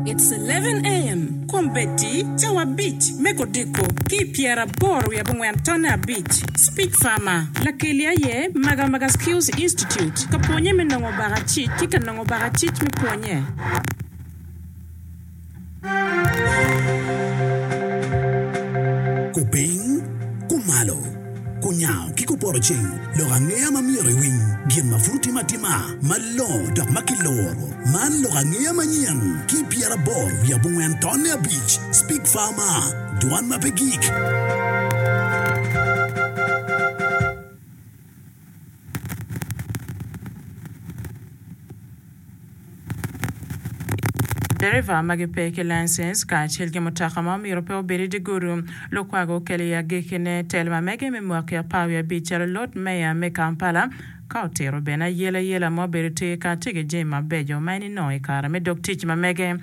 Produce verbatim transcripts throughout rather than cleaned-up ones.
It's eleven AM, Kombeddi, cawa abic me kodiko ki i pyeraboro wiye abongwen tonne abic. Speech Farmer, Lakeli aye Magamaga Skills Institute, ka pwonye me nongo bakacic ki ka nongo bakacic me pwonye. Kupiny, kumalo, kunyango ki kupoto ceng, lok angeya ma myero iwiny, gin ma pud otime atima, malongo dok ma kiloro. Man lok angeya manyen ki pyeraboro wiye abongwen tonne abic. Speak Farmer, dwan ma pe gik. Dereva ma gipe ki laicens kacel ki mutoka ma omyero pe obed i dye gudo. Lukwago okelo i agikkine telo ma mege me mwaki apar wiye abic calo Lord Mayor me Kampala ka otito bene ayelayela ma obedo tye ka tye ki jami mabeco ma en inongo i kare me dog tic ma mege.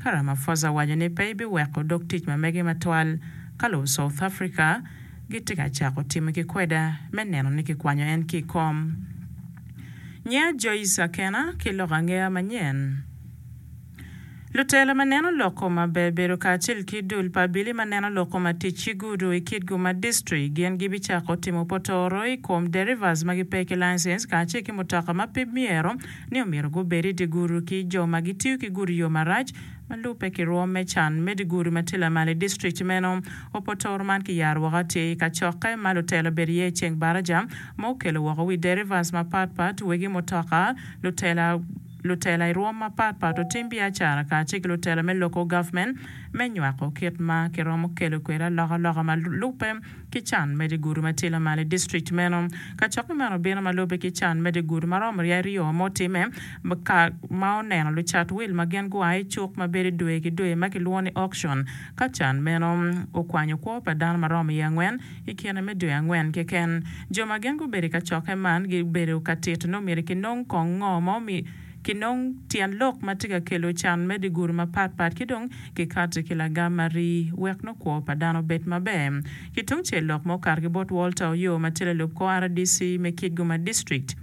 Ka Ramaphosa owaco ni pe ibiweko dog tic ma mege matwal ka lu South Africa gitye ka cako timo ki kweda me neno ni kikwanyo en ki i kom. Nyinga Joyce Akena ki lok angeya manyen. Lutela ma neno lok kom maber bedo kacel ki dul pa abili ma neno lok kom tic ki gudo i Kitgum District gin gibicako timo potoro i kom derivas ma gipe ki laicens kacel ki mutoka ma pe myero ni omyero gubed i dye gudo ki jo ma gitiyo ki gudo i yo marac ma lubbe ki rwom me can me dye gudo ma tye lamal i district meno. Opotoro man kiyaro woko atir i kacokke ma lutela obedo iye i ceng baraja ma okelo woko wi derivas mapatpat, wegi mutoka, lutela, lutela i rwom mapatpat, otim biacara kacel ki lutela me local government me nywako kit ma kiromo kelo kwede alokaloka ma lubbe ki can me dye gudo ma tye lamal i district meno. Kacokke meno obino ma lubbe ki can me dye gudo ma romo rye aryo ma otimme ka ma oneno lucat wil ma gin gua i cuk ma bedo dwe ki dwe ma kilwongo ni auction ka can meno okwanyo kwo pa dano ma romo i angwen i kine me dwe angwen keken. Jo ma gin gubedo i kacokke man gibedo ka tito ni omyero kinong kong ngo ma omi kinong tyen lok ma tye ka kelo can me dye gudo mapatpat ki dong kikati ki lagam marii wek nongo kwo pa dano obed maber. Ki tungcel lok ma okato ki bot Walter Oyo ma tye lalub kor RDC me Kitgum District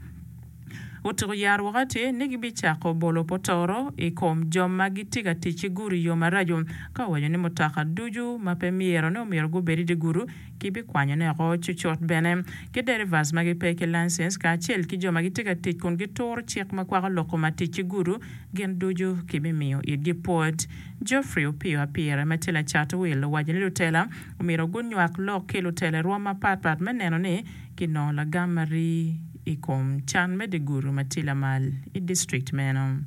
otuko yaro woko atir ni gibicako bolo potoro i kom jo ma gitye ka tic ki gudo i yo maraco ka owaco ni mutoka ducu ma pe myero ni omyero gubed i dye gudo kibikwanyone oko cucut bene ki derivas ma gipe ki laicens kacel ki jo ma gitye ka tic kun gituro cik ma kwako lok kom tic ki gudo gin ducu kibimiyo itgi pwod. Geoffrey Opio Apire ma tye lacat wil owaco ni lutela omyero gunywak lok ki lutela i rwom mapatpat me neno ni kinongo lagam marii i kom can me dye gudo ma tye lamal i district meno.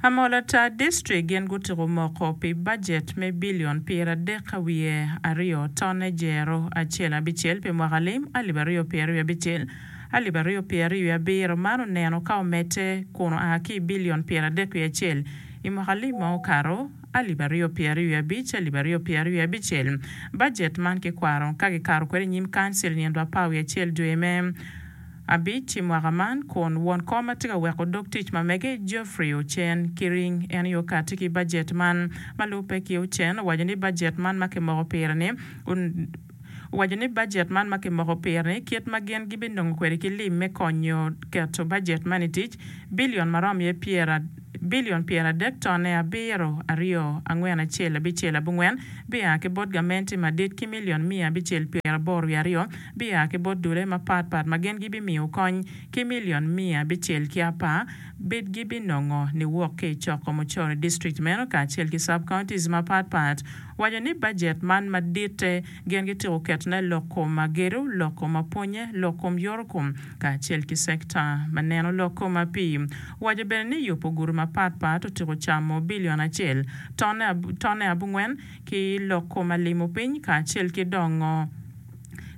Amolo ata District gin gutuko moko pi bajet me bilion pyeradek wiye aryo tonne jero acel abicel pi mwaka lim alip aryo pyeraryo abicel alip aryo pyeraryo abiro man oneno ka omedde kun oa ki i bilion pyeradek wiye acel i mwaka lim ma okato alip aryo pyeraryo abic alip aryo pyeraryo abicel. Bajet man kikwaro ka kikato kwede i nyim kancil nino apar wiye acel dwe me abic i mwaka man kun won kom ma tye ka weko dog tic ma mege Geoffrey Ochen Kiring en aye okati ki bajet man ma lubbe ki Ochen owaco ni bajet man ma kimoko pire-ni owaco ni bajet man ma kimoko pire-ni kit ma gin gibinongo kwede ki lim me konyo keto bajet man i tic bilion ma romo iye pyera bilion pyeradek tonne abiro aryo angwen acel abicel abongwen bia ki bot gamenti madit ki milion miya abicel pyeraboro wiye aryo bia ki bot dule mapatpat ma gin gibimiyo kony ki milion miya abicel ki apar bed gibinongo niwok ki i coko mucoro i district meno kacel ki sub-counties mapatpat. Waco ni bajet man maditte gin gitiko ketone lok kom agedo, lok kom apwonye, lok kom yoro kom kacel ki sekta ma neno lok kom apii. Waco bene ni yubo gudo mapatpat otiko camo bilion acel tonne abongwen ki lok kom alimo piny kacel ki dongo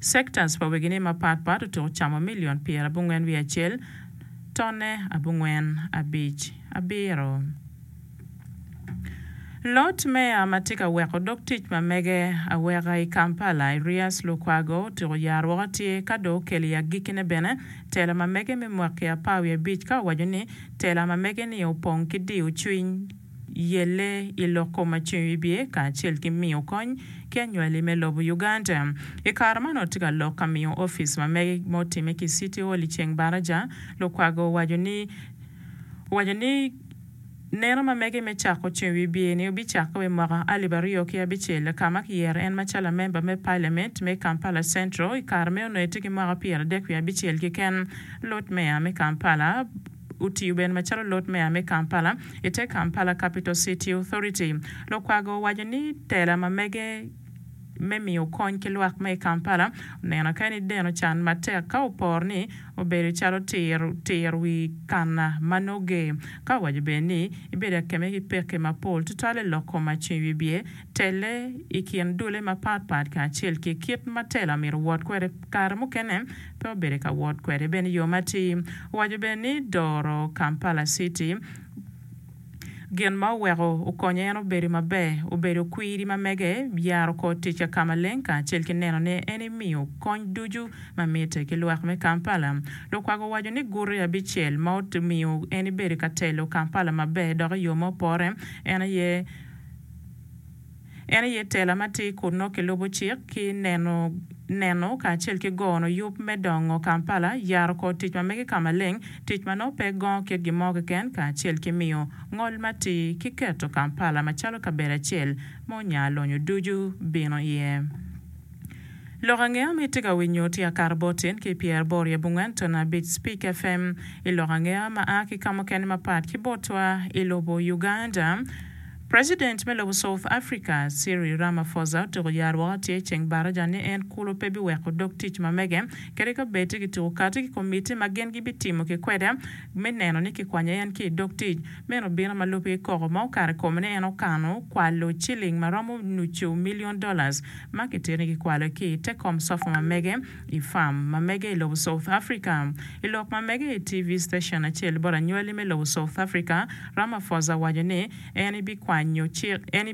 sectors pa wegine mapatpat otiko camo milion pyerabongwen wiye acel tonne abongwen abic abiro. Lot meya ma tye ka weko dog tic ma mege aweka i Kampala, Erias Lukwago otuko yaro woko tye ka dong okelo i agikkine bene tela ma mege me mwaki apar wiye abic ka owaco ni tela ma mege ni opong ki diyo cwiny yelle i lok kom aceng wibye kacel ki miyo kony ki anywali me lobo Uganda. I kare man otye ka lok ka miyo opic ma mege ma otime ki City Hall i ceng baraja, Lukwago owaco ni owaco ni Neno ma mege me cako ceng wibye-ni obicako i mwaka alip aryo ki abicel ka ma kiyero en macalo lamemba me Parliament me Kampala Central i kare me onongo etye ki mwaka pyeradek wiye abicel keken. Lord Mayor me Kampala otiyo bene macalo Lord Mayor me Kampala i te Kampala Capital City Authority. Lukwago owaco ni tela ma mege me miyo kony ki lwak ma i Kampala oneno ka en ideno can matek ka oporo ni obedo calo tir wi kana ma nongo ger. Ka owaco bene ni ibedo akemme ki pekki mapol tutwal i lok kom aceng wibye telle i kin dule mapatpat kacel ki kit ma tela myero wot kwede kare mukene pe obedo ka wot kwede bene i yo matir. Owaco bene ni doro Kampala City gin ma oweko okonyo en obedo maber obedo kwiri ma mege yaro kor tic ka maleng kacel ki neno ni en emiyo kony ducu ma mitte ki lwak me Kampala. Lukwago owaco ni guti abicel ma omiyo en ebedo ka telo Kampala maber dok i yo ma opore en aye en aye tela ma tye kun nongo kilubo cik ki neno neno kacel ki gono yub me dongo Kampala yaro kor tic ma mege ka maleng tic ma nongo pe gongo kit gin mo keken kacel ki miyo ngol matir ki keto Kampala macalo kabedo acel ma onya lonyo ducu bino iye. Lok angeya ma itye ka winyo tye akato bot in ki pyeraboro i abongwen ton abic Speak F M i lok angeya ma a ki ka mukene mapat ki botwa i lobo Uganda. President me lobo South Africa Cyril Ramaphosa otuko yar woko tye ceng baraja ni en kulu pe biweko dog tic ma mege kadi ka bed tye kituko kati ki komiti ma gin gibitimo ki kwede me neno ni kikwanyo en ki i dog tic. Meno obino ma lubi ki koko ma okato i kome ni en okano kwalo ciling ma romo nucu million dollars ma kitito ni kikwalo ki i te kom sofa ma mege i farm ma mege i lobo South Africa. I lok ma mege i T V station acel bot anywali me lobo South Africa, Ramaphosa owaco ni en ibikwanyo cik en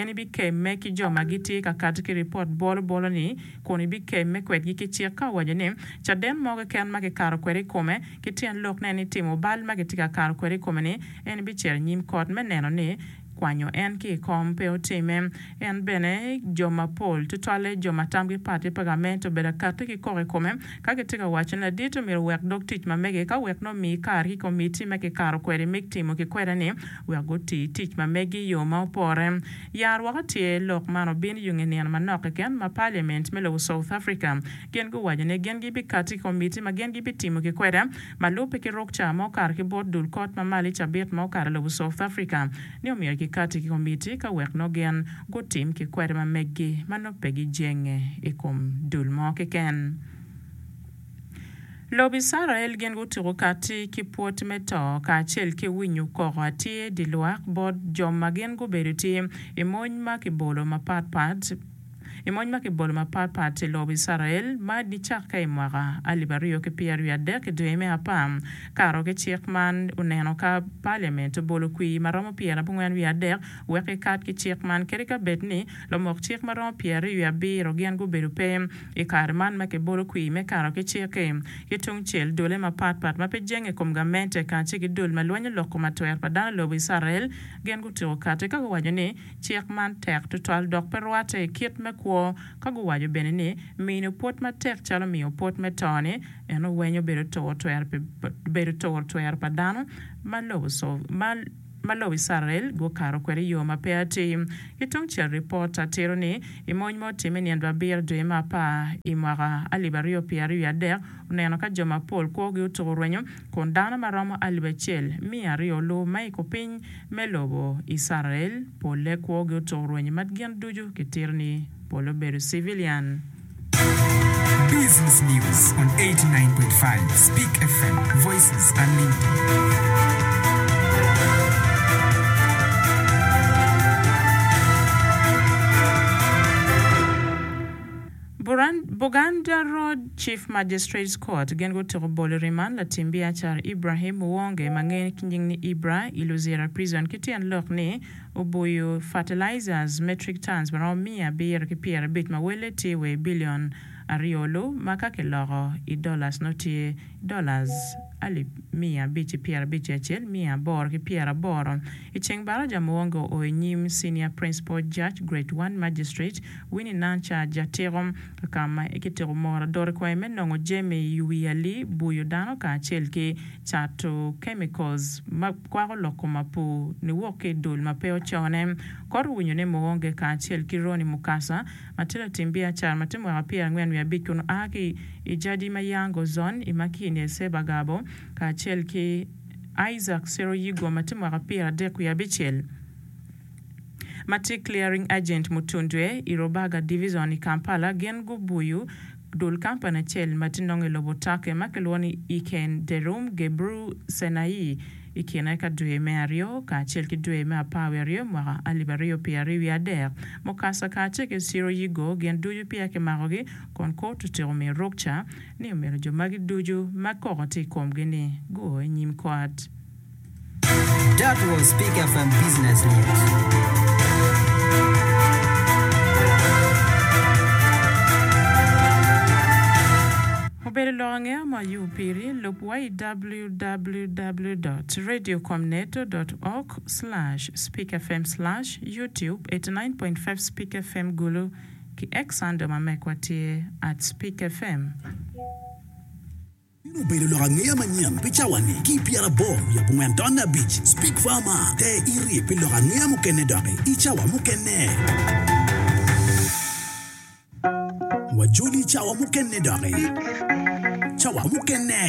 ibikemme ki jo ma gitye ka kati ki ripot bolo bolo ni kun ibikemme kwedgi ki cik ka owaco ni caden mo keken ma kikato kwede i kome ki tyen lok ne ni timo bal ma gitye ka kato kwede i kome ni en ibicito i nyim kot me neno ni kwanyo en ki i kom pe otime. En bene jo mapol tutwalle jo ma tamgi pat ki pa gamente obedo akati ki koko i kome ka gitye ka waco ni ladit omyero wek dog tic ma mege ka wek nongo mii kare ki komiti ma kikato kwede me timo ki kwede ni wek guti tic ma megi i yo ma opore. Yar woko tye lok man obino i yo nge nino manok keken ma Parliament me lobo South Africa gin guwaco ni gin gibikati ki komiti ma gin gibitimo ki kwede ma lubbe ki rukca ma okato ki bot dul kot ma malo i cabit ma okato i lobo South Africa ni omyero kikati ki komiti ka wek nongo gin gutim ki kwede ma meggi ma nongo pe gijenge i kom dul mo keken. Lobo Icrael gin gutuko kati ki pwot me to kacel ki winyo koko atye di lwak bot jo ma gin gubedo tye i mony ma kibolo mapatpat i mony ma kibolo mapatpat i lobo Icrael ma nicakke i mwaka alip aryo ki pyeraryo adek i dwe me apar. Kato ki cik man oneno ka Parliament obolo kwir ma romo pyerabongwen wiye adek wek ekat ki cik man kadi ka bed ni lomok cik ma romo pyeraryo wiye abiro gin gubedo pe i kare man ma kibolo kwir me kato ki cik-ki. Ki tung cel dule mapatpat ma pe jenge i kom gamente kacel ki dul ma lwenyo lok kom atwer pa dano i lobo Icrael gin gutuko kati ka guwaco ni cik man tek tutwal dok pe rwatte i kit me kwo ka guwaco bene ni mino pwot matek calo miyo pwot me to-ni en owenyo bedo turo twero pa dano ma lobo ma lobo Icrael gukato kwede i yo ma pe atir. Ki tung cel ripot atiro ni i mony ma otimme nino abiro dwe me apar i mwaka alip aryo pyeraryo wiye adek oneno ka jo mapol kwogi otuko rwenyo kun dano ma romo alip acel miya aryo olubo ma i kupiny me lobo Icrael polle kwogi otuko rwenyo ma gin ducu kitiro ni pol obedo civilian. Business News on eighty-nine point five Speak F M, Voices Unlimited. Buganda Road Chief Magistrates Court gin gutuko bolo riman latim biacara Ibrahim Muwonge ma ngene ki nying ni Ibra i Luzira Prison ki tyen lok ni obuyo fertilizers metric tons ma romo miya abiro ki pyerabic ma welle tye wa i bilion Aryo lu ma ka kiloko i dollars nongo tye dollars alip miya abic ki pyerabic ki acel miya aboro ki pyeraboro. I ceng baraja Muwonge oo i nyim Senior Principal Judge Grade One Magistrate Winnie Nankya Jatiko ka ma kitiko moro adot i kome me nongo jami i wi alii, buyo dano kacel ki cato chemicals ma kwako lok kom apur niwok ki i dul ma pe ocone. Kot owinyo ni Muwonge kacel ki Ronnie Mukasa ma tye latim biacara ma tye mwaka pyerangwen wiye abic kun oa ki i jadi ma Yango Zone i Makindye Ssebagabo kacel ki Isaac Seruyigo ma tye mwaka pyeradek wiye abicel ma tye clearing agent Mutundwe i Rubaga Division i Kampala gin gubuyo dul kampani acel ma tye nongo i lobo Turkey ma kilwongo ni Iken Derum Gebru Senai i kine ka dwe me aryo kacel ki dwe me apar wiye aryo mwaka alip aryo pyera aryo wiye adek. Mukasa kacel ki Seruyigo gin ducu peya kimakogi kun kot otyeko miyo rukca ni omyero jo magi ducu ma koko tye i komgi-ni guo i nyim kot. That was Speak F M Business News. Obedo lok angeya ma oyubo piri, lub wa i w w w dot radiocomneto dot org slash speakfm slash youtube eighty-nine point five Speak F M Gulu ki X handle ma mekwa tye at Speak F M. Meno obedo lok angeya manyen pi cawa-ni ki pyeraboro wiye abongwen tonne abic. Speak Farmer te iri pi lok angeya mukene doki i cawa mukene. Wajoli i cawa mukene doki. Cawa mukene.